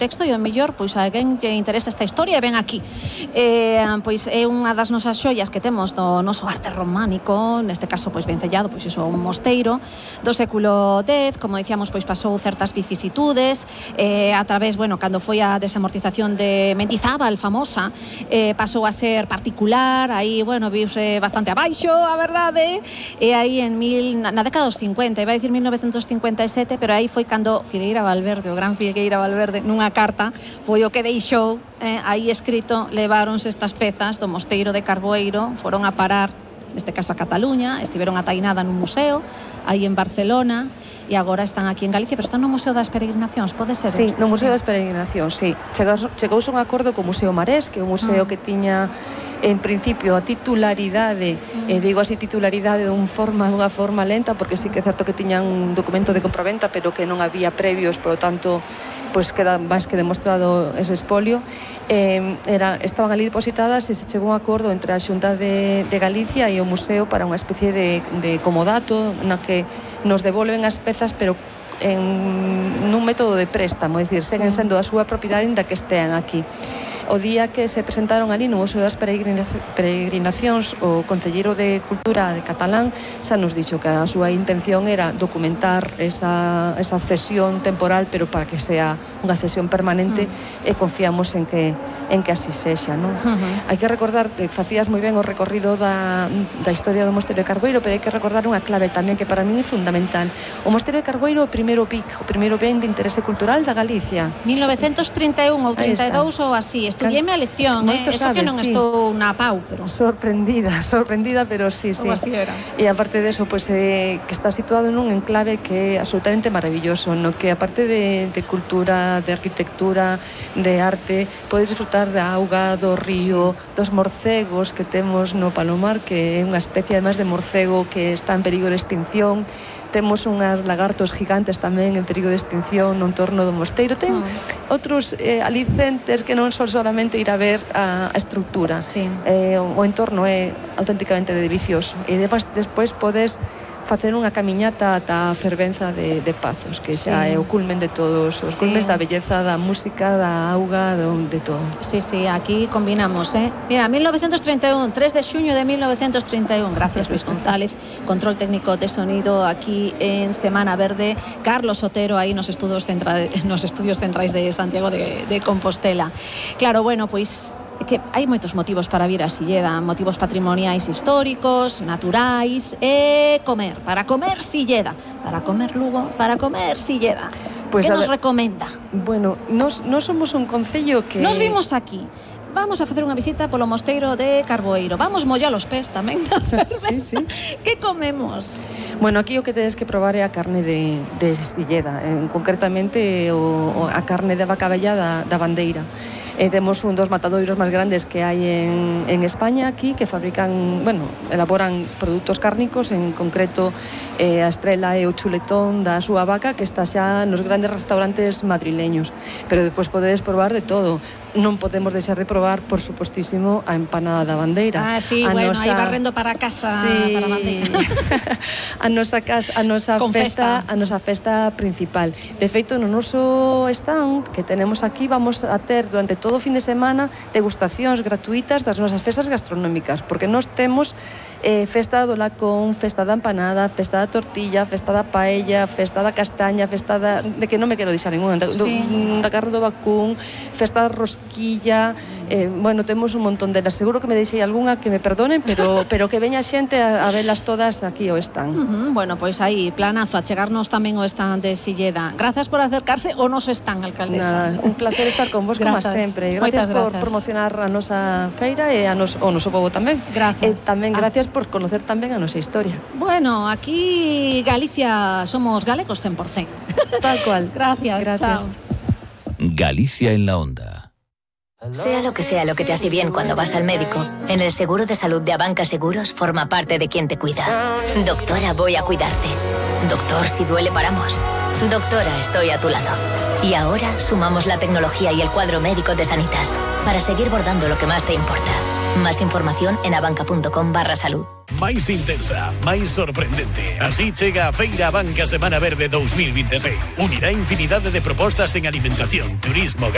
texto e o mellor, pois a quen lle interesa esta historia ven aquí. Pois é unha das nosas xoias que temos do noso arte románico, neste caso pois vencellado, pois iso un mosteiro do século X, como dicíamos, pois pasou certas vicisitudes, a través, bueno, cando foi a desamortización de Mendizábal famosa, pasou a ser particular, aí, bueno, viuse bastante abaixo, a verdade, e aí na década dos 50, iba a dicir 1957, pero aí foi cando Filgueira Valverde, o gran Filgueira Valverde, nunha carta, foi o que deixou aí escrito, leváronse estas pezas do mosteiro de Carboeiro, foron a parar, neste caso a Cataluña, estiveron atainada nun museo, aí en Barcelona, e agora están aquí en Galicia, pero están no Museo das Peregrinacións, pode ser? Sí, no Museo das Peregrinacións, sí. Chegouse un acordo co Museo Marés, que é un museo que tiña en principio a titularidade, digo así titularidade dunha forma lenta, porque sí que é certo que tiñan un documento de compraventa, pero que non había previos, por lo tanto, pois queda máis que demostrado ese espolio. Estaban ali depositadas e se chegou un acordo entre a Xunta de Galicia e o museo para unha especie de comodato na que nos devolven as pezas, pero nun método de préstamo, é dicir, seguen sendo a súa propiedade ainda que estean aquí. O día que se presentaron ali no Museo das Peregrinacións, o concelleiro de Cultura de Catalán xa nos dixo que a súa intención era documentar esa cesión temporal, pero para que sea unha cesión permanente, e confiamos en que así sexa, non? Hai que recordar que facías moi ben o recorrido da historia do Mosteiro de Carboeiro, pero hai que recordar unha clave tamén que para min é fundamental. O Mosteiro de Carboeiro é o primeiro ben de interese cultural da Galicia. 1931 ou 32 ou así. Estudieme a lección, eso que non estou na pau, pero... Sorprendida, pero sí. Como así era. E aparte de eso, pues, que está situado nun enclave que é absolutamente maravilloso, no que aparte de cultura, de arquitectura, de arte, podes disfrutar da auga, do río, dos morcegos que temos no Palomar, que é unha especie además de morcego que está en perigo de extinción. Temos unhas lagartos gigantes tamén en perigo de extinción no entorno do mosteiro. Ten outros alicentes que non son solamente ir a ver a estructura. O entorno é auténticamente delicioso. E despois podes facer unha camiñata ata a fervenza de Pazos, que xa é o culmen de todos os culmes da belleza, da música, da auga, de todo. Sí, aquí combinamos, Mira, 1931, 3 de xuño de 1931. Gracias, Luis González, control técnico de sonido aquí en Semana Verde. Carlos Otero aí nos estudios centrais de Santiago de Compostela. Claro, bueno, pois que hai moitos motivos para vir a Silleda, motivos patrimoniais históricos, naturais e para comer Silleda, para comer Lugo, para comer Silleda. Pues que nos recomenda? Bueno, nos somos un concello que... Nos vimos aquí. Vamos a facer unha visita polo Mosteiro de Carboeiro. Vamos mollar os pés tamén. Sí. Que comemos? Bueno, aquí o que tedes que probar é a carne de Silleda, concretamente a carne de vaca vella da Bandeira. Temos un dos matadoiros máis grandes que hai en España aquí, que fabrican, elaboran produtos cárnicos, en concreto a estrela e o chuletón da súa vaca, que está xa nos grandes restaurantes madrileños. Pero depois podedes probar de todo. Non podemos deixar de probar, por supostísimo, a empanada da Bandeira. Sí, aí barrendo para casa, para a Bandeira. A nosa festa principal. De feito, no noso stand que tenemos aquí, vamos a ter durante todo o fin de semana degustacións gratuitas das nosas festas gastronómicas, porque nós temos festa do lacón, festa da empanada, festa da tortilla, festa da paella, festa da castaña, festa de que non me quero deixar ninguna, da carne do vacún, festa da rosquilla, temos un montón delas. Seguro que me deixei algunha, que me perdonen, pero que veña xente a velas todas aquí ao stand. Bueno, pois aí, planazo, a chegarnos tamén ao stand de Silleda. Gracias por acercarse ao noso stand, alcaldesa. Un placer estar con vos, como sempre. Gracias por promocionar a nosa feira e o noso pobo tamén. Gracias. Tamén gracias por conocer tamén a nosa historia. Bueno, aquí Galicia somos galegos 100%. Tal cual. Gracias. Chao. Galicia en la onda. Sea lo que te hace bien cuando vas al médico, en el seguro de salud de Abanca Seguros forma parte de quien te cuida. Doctora, voy a cuidarte. Doctor, si duele paramos. Doctora, estoy a tu lado. Y ahora sumamos la tecnología y el cuadro médico de Sanitas para seguir bordando lo que más te importa. Más información en abanca.com/salud. Máis intensa, máis sorprendente. Así chega a Feira Abanca Semana Verde 2026. Unirá infinidade de propostas en alimentación, turismo,